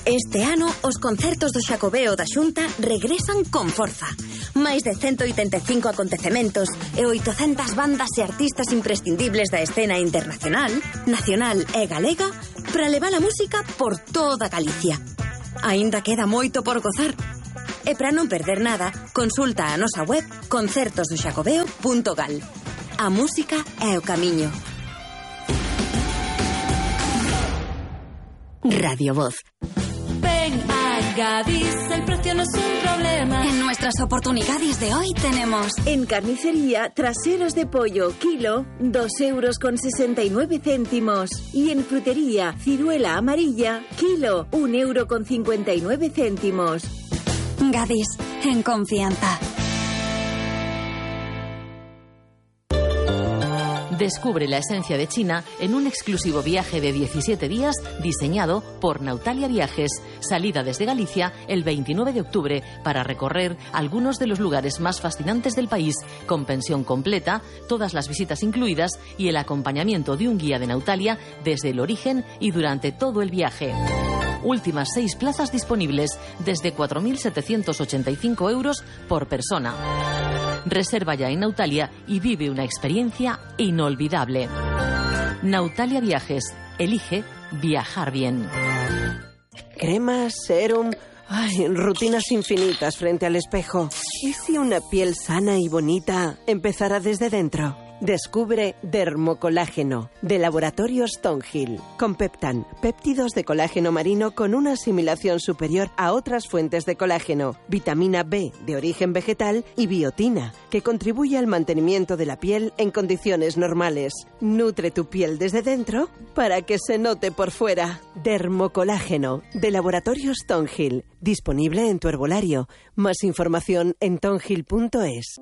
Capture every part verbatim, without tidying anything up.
Este ano, os concertos do Xacobeo da Xunta regresan con forza. Máis de ciento oitenta e cinco acontecementos e oitocentas bandas e artistas imprescindibles da escena internacional, nacional e galega para levar a música por toda Galicia. Aínda queda moito por gozar. E para non perder nada, consulta a nosa web concertos do xacobeo punto gal. A música é o camiño. Radio Voz. Ven a Gadis, el precio no es un problema. En nuestras oportunidades de hoy tenemos... En carnicería, traseros de pollo, kilo, dos euros con sesenta y nueve céntimos. Y en frutería, ciruela amarilla, kilo, un euro con cincuenta y nueve céntimos. Gadis, en confianza. Descubre la esencia de China en un exclusivo viaje de diecisiete días diseñado por Nautalia Viajes. Salida desde Galicia el veintinueve de octubre para recorrer algunos de los lugares más fascinantes del país, con pensión completa, todas las visitas incluidas y el acompañamiento de un guía de Nautalia desde el origen y durante todo el viaje. Últimas seis plazas disponibles desde cuatro mil setecientos ochenta y cinco euros por persona. Reserva ya en Nautalia y vive una experiencia inolvidable. Nautalia Viajes. Elige viajar bien. Cremas, serum... Ay, rutinas infinitas frente al espejo. ¿Y si una piel sana y bonita empezara desde dentro? Descubre Dermocolágeno, de Laboratorios Thornhill. Con Peptan, péptidos de colágeno marino con una asimilación superior a otras fuentes de colágeno, vitamina B de origen vegetal y biotina, que contribuye al mantenimiento de la piel en condiciones normales. Nutre tu piel desde dentro para que se note por fuera. Dermocolágeno, de Laboratorios Thornhill. Disponible en tu herbolario. Más información en thornhill punto es.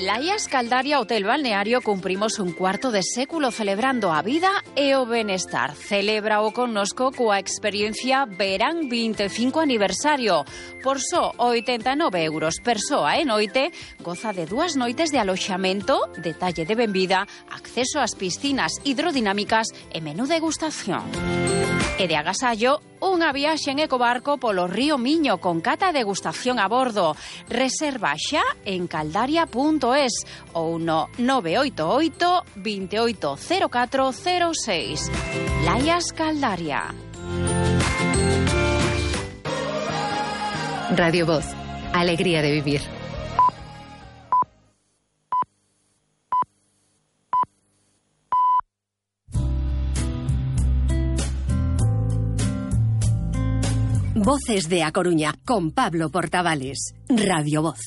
Laias Caldaria Hotel Balneario cumprimos un cuarto de século celebrando a vida e o benestar. Celebra o connosco coa experiencia Verán veinticinco aniversario. Por só oitenta e nove euros persoa e noite, goza de dúas noites de aloxamento, detalle de benvida, acceso ás piscinas hidrodinámicas e menú degustación. E de agasallo, unha viaxe en ecobarco polo río Miño con cata e degustación a bordo. Reserva xa en caldaria punto es ou no nove oito oito, dos oito cero catro cero seis. Laias Caldaria. Radio Voz. Alegría de vivir. Voces de A Coruña, con Pablo Portavales. Radio Voz.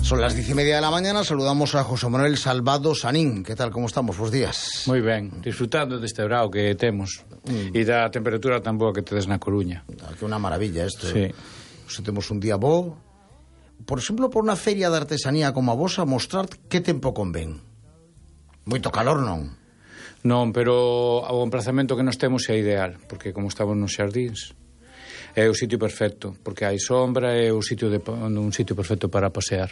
Son las diez y media de la mañana, saludamos a José Manuel Salvado Sanín. ¿Qué tal, como estamos? Buenos días. Moi ben, disfrutando deste brao que temos mm. e da temperatura tan boa que tedes na Coruña. Que unha maravilla isto. Sí. Se temos un día bo, por exemplo, por unha feria de artesanía como a vosa, mostrar que tempo convén. Moito calor non? Non, pero o emplazamento que nos temos é ideal, porque como estamos nos xardíns, é o sitio perfecto, porque hai sombra, é o sitio de, un sitio perfecto para pasear.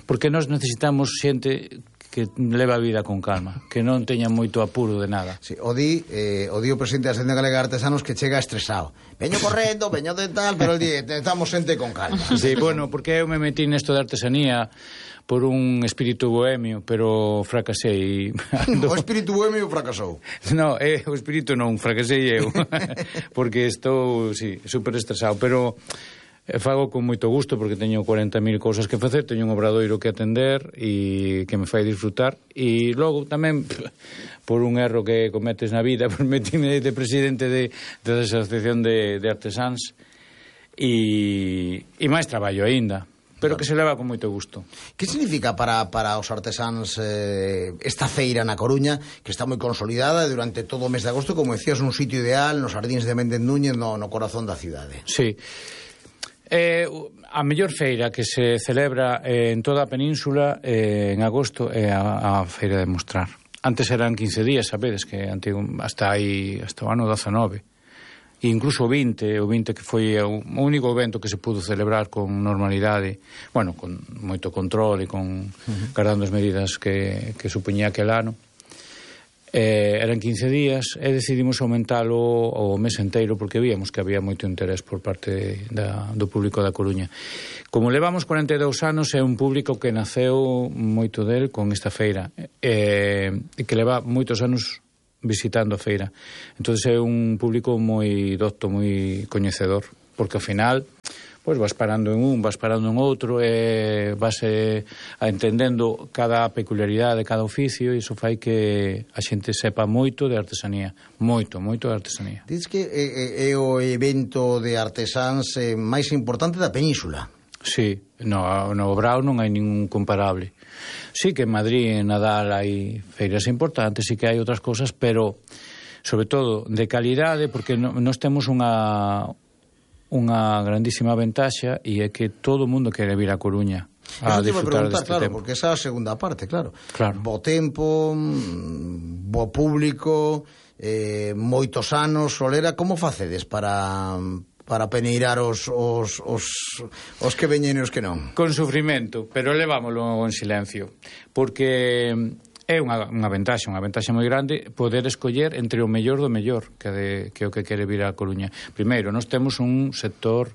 Porque nós necesitamos xente que leva a vida con calma, que non teña moito apuro de nada. Sí, o di, eh, o di o presidente da Asociación Galega de Artesanos que chega estresado. Veño correndo, veño de tal, pero el di, necesitamos xente con calma. Sí, bueno, porque eu me metí nesto de artesanía por un espírito bohemio, pero fracasei. O espírito bohemio fracasou. No, eh, o espírito non, fracasei eu. Porque estou, sí, super estresado, pero fago con moito gusto porque teño cuarenta mil cousas que facer, teño un obradoiro que atender e que me fai disfrutar, e logo tamén por un erro que cometes na vida, por metime de presidente de, de asociación de, de artesáns e, e máis traballo aínda, pero que se leva con moito gusto. Que significa para, para os artesáns eh, esta feira na Coruña, que está moi consolidada durante todo o mes de agosto, como decías, un sitio ideal nos Xardíns de Méndez Núñez, no, no corazón da cidade? Sí. Eh, a mellor feira que se celebra eh, en toda a península eh, en agosto é a, a feira de Mostrar. Antes eran quince días, sabedes, que antigo, hasta aí, hasta o ano dezanove. E incluso o vinte, o vinte que foi o único evento que se pudo celebrar con normalidade, bueno, con moito control e con uh-huh. guardando as medidas que, que supoñía aquel ano. Eh, eran quince días e decidimos aumentalo o mes enteiro porque víamos que había moito interés por parte da, do público da Coruña. Como levamos cuarenta e dous anos, é un público que naceu moito del con esta feira e eh, que leva moitos anos visitando a feira. Entón é un público moi docto, moi coñecedor, porque ao final pois vas parando en un, vas parando en outro e vas eh, entendendo cada peculiaridade de cada oficio e iso fai que a xente sepa moito de artesanía, moito, moito de artesanía. Diz que é, é o evento de artesáns eh, máis importante da península. Sí, no, no Obrao non hai ningún comparable. Sí que en Madrid e en Nadal hai feiras importantes, sí que hai outras cosas, pero sobre todo de calidade, porque no, nós temos unha unha grandísima ventaxa e é que todo o mundo quere vir a Coruña a disfrutar deste claro, tempo. Porque esa é a segunda parte, claro. Claro. Bo tempo, bo público, eh, moitos anos, Solera, como facedes para para peneirar os, os, os, os que veñen e os que non? Con sufrimento, pero levámoslo en silencio, porque é unha, unha ventaxa, unha ventaxa moi grande poder escoller entre o mellor do mellor que, de, que o que quere vir a Coruña. Primeiro, nós temos un sector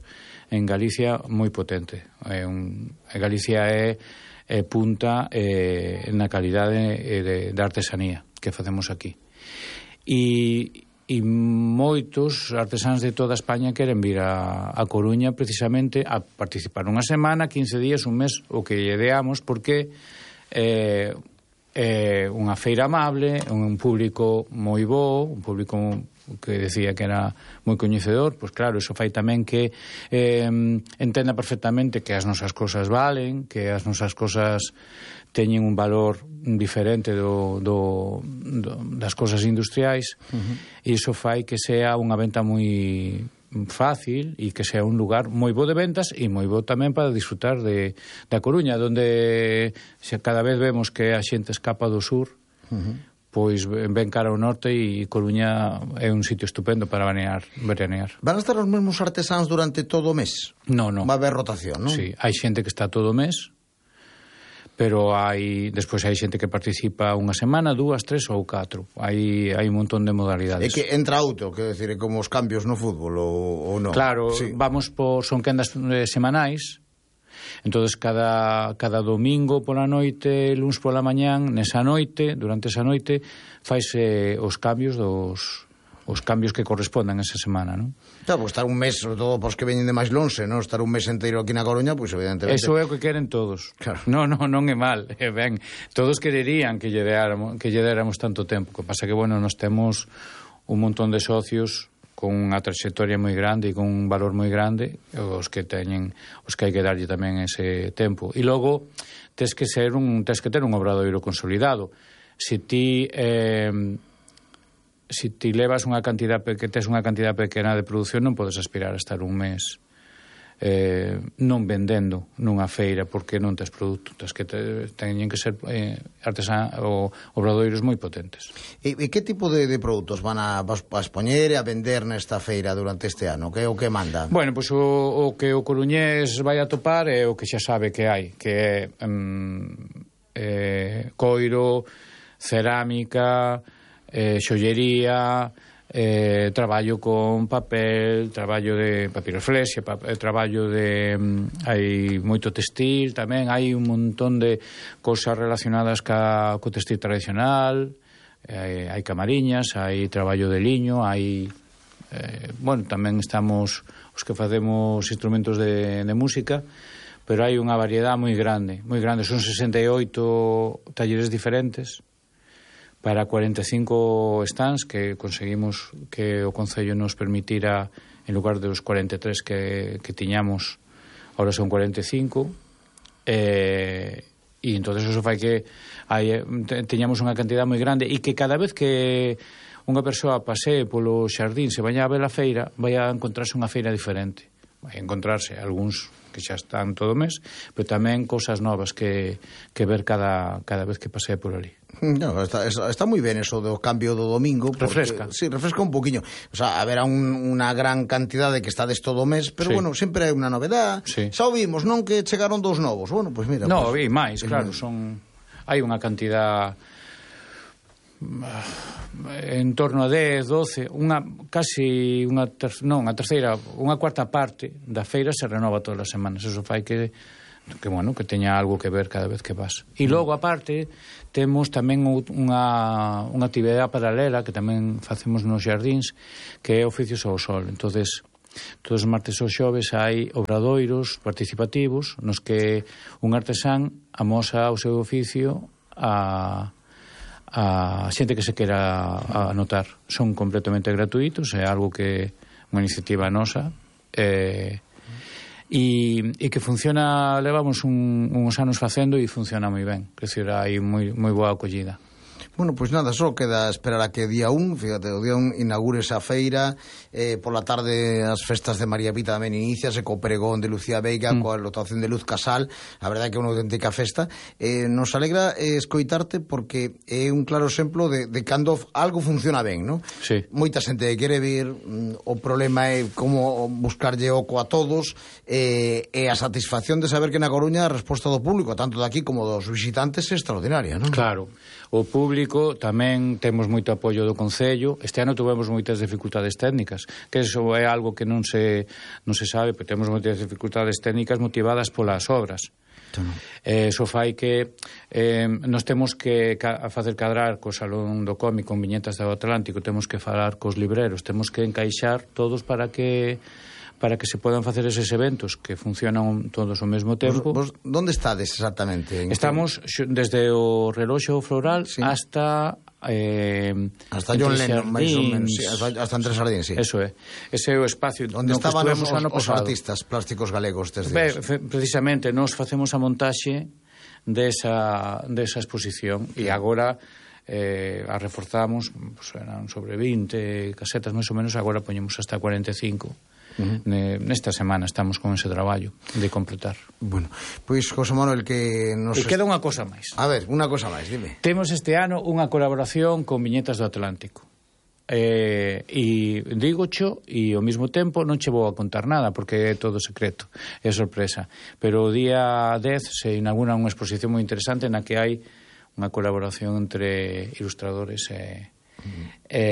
en Galicia moi potente. É un, Galicia é, é punta é, na calidade de, de artesanía que facemos aquí. E, e moitos artesáns de toda España queren vir a, a Coruña precisamente a participar unha semana, quince días, un mes, o que lle deamos, porque eh, é unha feira amable, un público moi bo, un público que decía que era moi coñecedor, pois claro, iso fai tamén que eh, entenda perfectamente que as nosas cosas valen, que as nosas cosas teñen un valor diferente do, do, do, das cosas industriais, uh-huh. E iso fai que sea unha venta moi fácil e que sea un lugar moi bo de ventas e moi bo tamén para disfrutar de da Coruña, donde se cada vez vemos que a xente escapa do sur, uh-huh. Pois ven cara ao norte e Coruña é un sitio estupendo para veranear, veranear. Van a estar os mesmos artesáns durante todo o mes? No, no. Va a haber rotación, non? Sí, hai xente que está todo o mes, pero hai despois hai xente que participa unha semana, dúas, tres ou catro. Hai hai un montón de modalidades. É que entra outro, quero decir, é como os cambios no fútbol ou, ou non. Claro, sí. Vamos por son quendas eh, semanais. Entonces cada cada domingo pola noite, luns pola mañán, nesa noite, durante esa noite, faise os cambios dos os cambios que correspondan a esa semana, non? Claro, porque estar un mes, sobre todo pos que veñen de máis lonxe, non? Estar un mes inteiro aquí na Coruña, pois evidentemente... Eso é o que queren todos. Claro. Non, non, non é mal, é ben. Todos quererían que lle déramos, que lle déramos tanto tempo. O que pasa que, bueno, nós temos un montón de socios con unha trayectoria moi grande e con un valor moi grande, os que teñen, os que hai que darlle tamén ese tempo. E logo, tes que ser un, tes que ter un obradoiro consolidado. Se ti... Eh, se ti levas unha cantidad que tes unha cantidad pequena de produción, non podes aspirar a estar un mes eh, non vendendo nunha feira porque non tes produto. Tes que te, teñen que ser eh, artesán ou obradoiros moi potentes. E, e que tipo de, de produtos van a, a expoñer e a vender nesta feira durante este ano? Que é o que manda? Bueno, pois pues, o, o que o coruñés vai a topar é o que xa sabe que hai, que é um, eh, coiro, cerámica, Eh, xollería, eh, traballo con papel, traballo de papiroflexia, pa, eh, traballo de... Um, hai moito textil tamén, hai un montón de cosas relacionadas ca, co textil tradicional, eh, hai camariñas, hai traballo de liño, hai... Eh, bueno, tamén estamos os que facemos instrumentos de, de música, pero hai unha variedade moi grande, moi grande, son sesenta e oito talleres diferentes, para cuarenta e cinco stands que conseguimos que o Concello nos permitira, en lugar dos cuarenta e tres que, que tiñamos, ahora son cuarenta e cinco, eh, e entonces eso fai que hai, teñamos unha cantidad moi grande e que cada vez que unha persoa pasee polo xardín, se vaña a ver a feira, vai a encontrarse unha feira diferente, vai a encontrarse algúns que xa están todo o mes, pero tamén cousas novas que, que ver cada, cada vez que pasee por ali. No, está, está moi ben eso do cambio do domingo porque, refresca. Sí, refresca un poquinho. O sea, haberá un, unha gran cantidade que estades todo o mes, pero sí. Bueno, sempre hai unha novedad. Sí. Xa o vimos, non que chegaron dous novos. Bueno, pois pues mira, no, pues, vi máis, claro, son hai unha cantidad en torno a dez, doce, unha casi unha ter, non, a terceira, unha cuarta parte da feira se renova todas as semanas. Eso fai que que bueno, que teña algo que ver cada vez que vas. E logo aparte temos tamén unha unha actividade paralela que tamén facemos nos xardíns, que é oficios ao sol. Entonces, todos os martes ou xoves hai obradoiros participativos nos que un artesán amosa o seu oficio a, a xente que se quera anotar. Son completamente gratuitos, é algo que unha iniciativa nosa e, e, e que funciona, levamos un, uns anos facendo e funciona moi ben, que decir, hai moi, moi boa acollida. Bueno, pois pues nada, só queda esperar a que día un, fíjate, o día un inaugure esa feira, eh, por la tarde as festas de María Pita tamén iniciase co pregón de Lucía Veiga, mm. coa lotación de Luz Casal, a verdade é que é unha auténtica festa. Eh, nos alegra eh, escoitarte porque é un claro exemplo de, de cando algo funciona ben, non? Sí. Moita xente quere vir, mm, o problema é como buscarlle oco a todos, eh, e a satisfacción de saber que na Coruña a resposta do público, tanto daqui como dos visitantes, é extraordinaria, non? Claro. O público tamén temos moito apoio do Concello. Este ano tuvemos moitas dificultades técnicas, que eso é algo que non se non se sabe, pero temos moitas dificultades técnicas motivadas polas obras. Eh, eso fai que eh, nos temos que ca facer cadrar co Salón do Cómic con viñetas do Atlántico, temos que falar cos libreros, temos que encaixar todos para que para que se podan facer eses eventos que funcionan todos ao mesmo tempo. Vos, vos onde estades exactamente? Estamos desde o reloxo floral, sí, hasta eh, hasta John Lennon, máis ou menos, sí, hasta, hasta Entre Sardín, sí. Eso é. Ese é o espacio onde estaban os, os, os artistas plásticos galegos desde Be, precisamente, nos facemos a montaxe desa, desa exposición e agora eh, a reforzamos, pues, eran sobre vinte casetas máis ou menos, agora poñemos hasta cuarenta e cinco. Uh-huh. Nesta semana estamos con ese traballo de completar. Bueno, pois José Manuel, que nos... E queda unha cosa máis. A ver, unha cosa máis, dime. Temos este ano unha colaboración con Viñetas do Atlántico. Eh, e digo cho, e ao mesmo tempo non che vou a contar nada porque é todo secreto, é sorpresa. Pero o día dez se inaugura unha exposición moi interesante na que hai unha colaboración entre ilustradores e... Uh-huh. e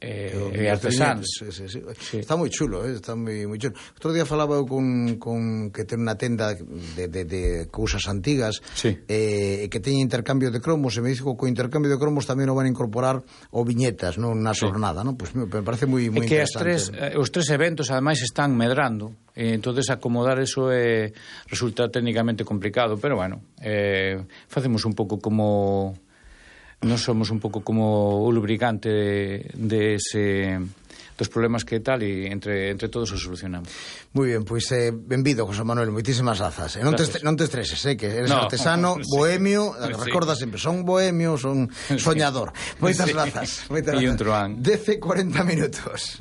Eh, e artesanos. Sí, sí, sí. Sí. Está moi chulo, eh? Está moi, moi chulo. Outro día falaba eu con, con que ten unha tenda de, de, de cousas antigas, sí, eh, que teña intercambio de cromos, e me dixo que co intercambio de cromos tamén o van a incorporar o viñetas, non na xornada, sí, non? Pois pues, me parece moi, moi que interesante. As tres, os tres eventos ademais están medrando, e entonces acomodar eso é, resulta técnicamente complicado, pero bueno, eh, facemos un pouco como... Nos somos un pouco como o lubricante de, de ese, dos problemas que tal, e entre, entre todos os solucionamos. Moi ben, pois eh, benvido, José Manuel, moitísimas grazas. Eh, non, te, non te estreses, eh, que eres no, artesano, sí, bohemio, sí, recorda sempre, son bohemio, son soñador. Moitas sí, grazas. Moitas grazas. E un truán. dez e cuarenta minutos.